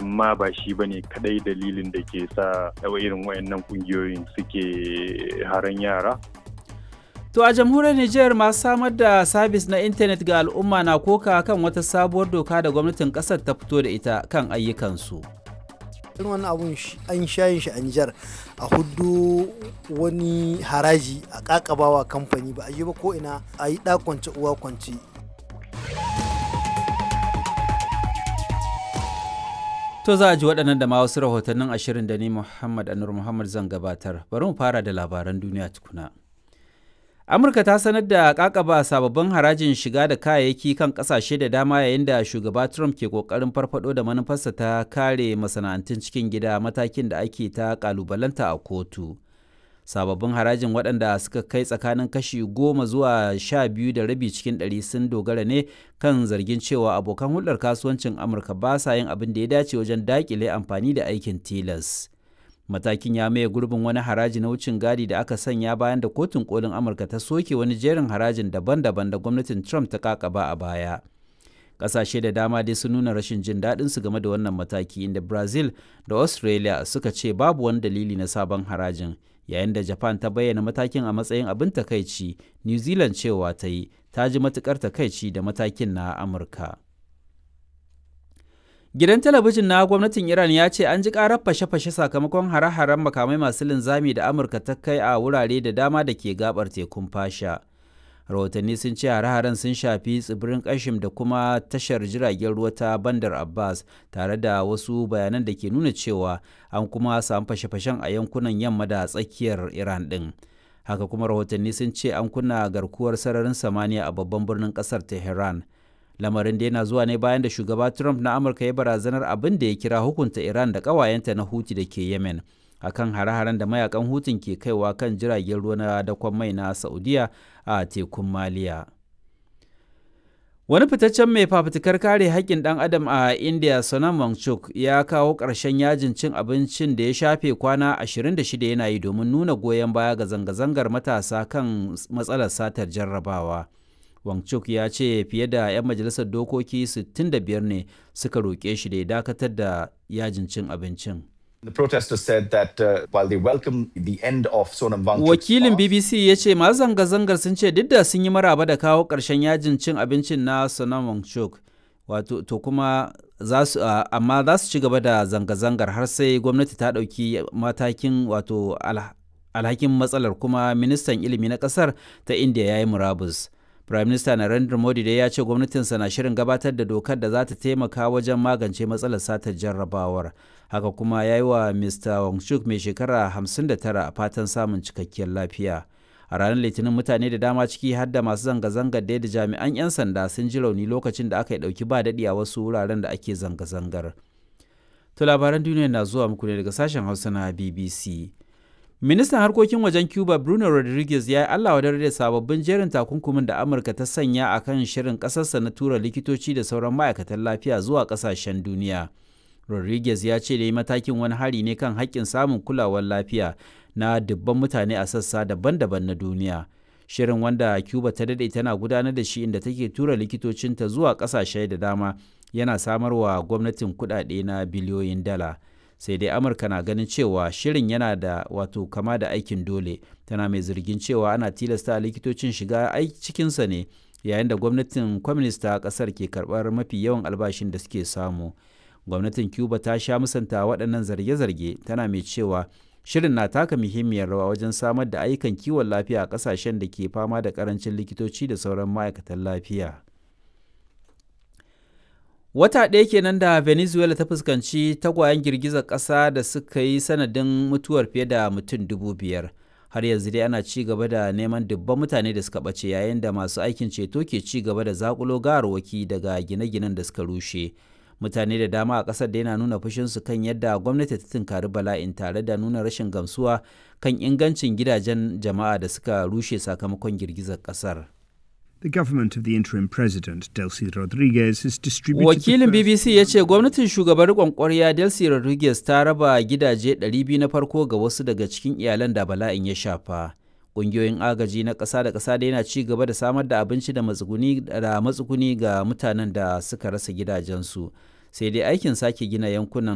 Amma ba shi ba ne kadai dalilin da ke sa irin wayannan kungiyoyin suke haran yara. To a jamhuriyar Nijar, masu samar da sabis na intanet ga al'umma na koka kan wata sabuwar doka da gwamnatin kasar ta fito da ita kan ayyukansu. Irin wannan abun an shayin shi a Nijar, a hudu wani haraji a kakabawa kamfani, ba a yi ba ko ina a yi kwance uwa kwance. To za a ji waɗannan da ma wasu rahotannin ashirin da ni Muhammad Anur Muhammad zan gabatar. Bari mu fara da labaran duniya tukuna. Amurka ta sanar da kakaba sababbin harajin shiga da kayayyaki kan kasashe da dama yayin da shugaba Trump ke kokarin farfado da manufarsa ta kare masana'antun cikin gida, matakin da ake ta kalubalanta a kotu. Sababbin harajin, waɗanda suka kai tsakanin kashi 10 zuwa 12.5 cikin ɗari, sun dogara ne kan zargin cewa abokan hulɗar kasuwancin Amurka ba sa yin abin da ya dace wajen daƙile amfani da aikin tilas. Matakin ya maye gurbin wani haraji na wucin gadi da aka sanya bayan da Kotun Kolin Amurka ta soke wani jerin harajin daban-daban da gwamnatin Trump ta kakaba a baya. Ƙasashe da dama dai sun nuna rashin jin daɗin su game da wannan mataki, inda Brazil da Australia suka ce babu wani dalili na sabon harajin, yayin da Japan ta bayyana matakin a matsayin abin takaici. New Zealand cewa ta yi ta ji matukar takaici da matakin na Amurka. Gidan talabijin na gwamnatin Iran ya ce an ji karar fashe-fashe sakamakon hare-haren makamai masu linzami da Amurka ta kai a wurare da dama da ke gabar tekun Fasha. Rahotanni sun ce hare-haren sun shafi tsibirin Kashim da kuma tashar jiragen ruwa ta Bandar Abbas, tare da wasu bayanan da ke nuna cewa an kuma samu fashe-fashen a yankunan yamma da tsakiyar Iran ɗin. Haka kuma rahotanni sun ce an kunna garkuwar sararin samaniya a babban birnin ƙasar Tehran. Lamarin da yana zuwa ne bayan da shugaba Trump na Amurka ya barazanar abin da ya kira hukunta Iran da ƙawayenta na Huti da ke Yemen akan hare-haren da mayakan Hutun ke kaiwa kan jiragen ruwa na dakon mai na Saudiya a tekun Maliya. Wani fitaccen mai fafutukar kare haƙƙin ɗan adam a India, Sonam Wangchuk, ya kawo ƙarshen yajin cin abincin da ya shafe kwana 26 yana yi domin nuna goyon baya ga zanga-zangar matasa kan matsalar satar jarrabawa. Wangchuk ya ce fiye da 'yan majalisar dokoki 65 ne suka roƙe shi da ya dakatar da yajin cin abincin. The protesters said that while they welcome the end of Sonam Wangchuk's Wakilin BBC ya ce masu zanga-zangar sun ce duk da sun yi maraba da kawo ƙarshen yajin cin abincin na Sonam Wangchuk, wato to kuma za su amma za su ci gaba da zanga-zangar har sai gwamnati ta ɗauki matakin wato alhakin matsalar, kuma ministan ilimi na ƙasar ta India ya yi murabus. Prime Minister Narendra Modi dai ya ce gwamnatinsa na shirin gabatar da dokar da za ta taimaka wajen magance matsalar satar jarrabawar. Haka kuma ya yi wa Mr. Wangchuk mai shekara 59 fatan samun cikakkiyar lafiya. A ranar Litinin, mutane da dama, ciki har da masu zanga-zangar da jami'an 'yan sanda, sun ji rauni lokacin da aka yi ɗauki ba daɗi a wasu wuraren da ake zanga-zangar. To labaran duniya na zuwa muku ne daga sashen Hausa na BBC. Ministan harkokin wajen Cuba, Bruno Rodriguez, ya yi Allah wadar da sababbin jerin takunkumin da Amurka ta sanya a kan shirin ƙasarsa na tura likitoci da sauran ma'aikatan lafiya zuwa ƙasashen duniya. Rodriguez ya ce da yi matakin wani hari ne kan haƙƙin samun kulawar lafiya na dubban mutane a sassa daban-daban na duniya. Shirin, wanda Cuba ta daɗe tana gudanar da shi inda take tura likitocinta zuwa ƙasashe da dama, yana samarwa gwamnatin kuɗaɗe na biliyoyin dala. Sai dai Amurka na ganin cewa shirin yana da wato kama da aikin dole, tana mai zargin cewa ana tilasta likitocin shiga cikinsa ne yayin da gwamnatin kwaminista ta kasar ke karbar mafi yawan albashin da suke samu. Gwamnatin Cuba ta sha musanta waɗannan zarge-zarge, tana mai cewa shirin na taka muhimmiyar rawa wajen samar da ayyukan kiwon lafiya a ƙasashen da ke fama da ƙarancin likitoci da sauran ma'aikatan lafiya. Wata ɗaya kenan da Venezuela ta fuskanci tagwayen girgizar ƙasa da suka yi sanadin mutuwar fiye da mutum 5,000. Har yanzu dai ana ci gaba da neman dubban mutane da suka ɓace, yayin da masu aikin ceto ke ci gaba da zakulo gawarwaki daga gine-ginen da suka rushe. Mutane da dama a ƙasar da yana nuna fushinsu kan yadda gwamnati ta tunkari bala'in, tare da nuna rashin gamsuwa kan ingancin gidajen jama'a da suka rushe sakamakon girgizar ƙasar. The government of the interim president, Delcy Rodriguez, has distributed. Wakilin BBC ya ce gwamnatin shugaban riƙon ƙwarya Delcy Rodriguez ta raba gidaje 200 na farko ga wasu daga cikin iyalan da bala'in ya shafa. Ƙungiyoyin agaji na ƙasa da ƙasa da yana ci gaba da samar da abinci da matsuguni ga mutanen da suka rasa gidajensu. Sai dai aikin sake gina yankunan